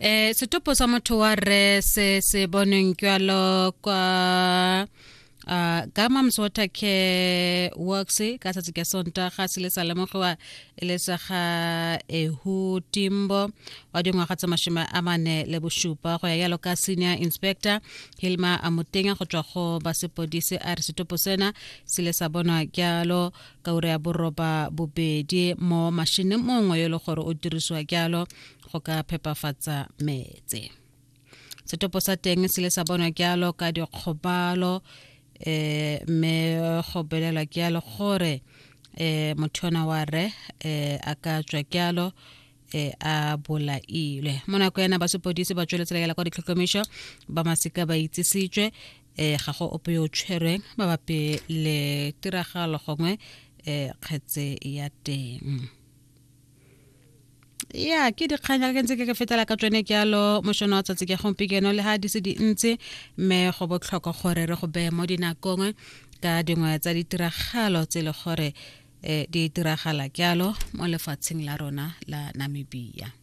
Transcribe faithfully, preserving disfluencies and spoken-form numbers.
Eh setopo sa motho wa rre se se bonweng jalo kwa uh, Gamams Water Care Works ka tsatsi ka Sontaga se le sa lemogiwa e le sa ga Ehu Timbo wa dingwaga tsa mashome a mane le bosupa. Go ya yalo ka senior inspector Hilma Amutenya go tswa go ba sepodisi, a re setopo sena se le sa bonwa jalo ka ura ya boroba bobedi mo mashineng mongwe yo e le gore o dirisiwa jalo go ka phepafatsa metse. Setopo sa teng se le sa bonwa jalo ka dikgobalo, eh mme go belelwa jalo gore eh motho ona wa re eh a ka tswa jalo eh a bolailwe. Mo nako ena ba sepodisi ba tsweletse yala kwa ditlhotlhomišo, ba masika ba itsisitswe. eh ga go ope yo o tshwerweng mabapi le tiragalo gongwe eh kgetse ya teng. Ya ke dikgang ke ntse ke ke fetela ka tsone jalo mošono wa tsatsi ke gompieno, le ha di se dintsi, mme go botlhokwa gore re go beye mo dinakong ka dingwe tsa ditiragalo tse e le gore eh di diragala jalo mo lefatsheng la rona la Namibia.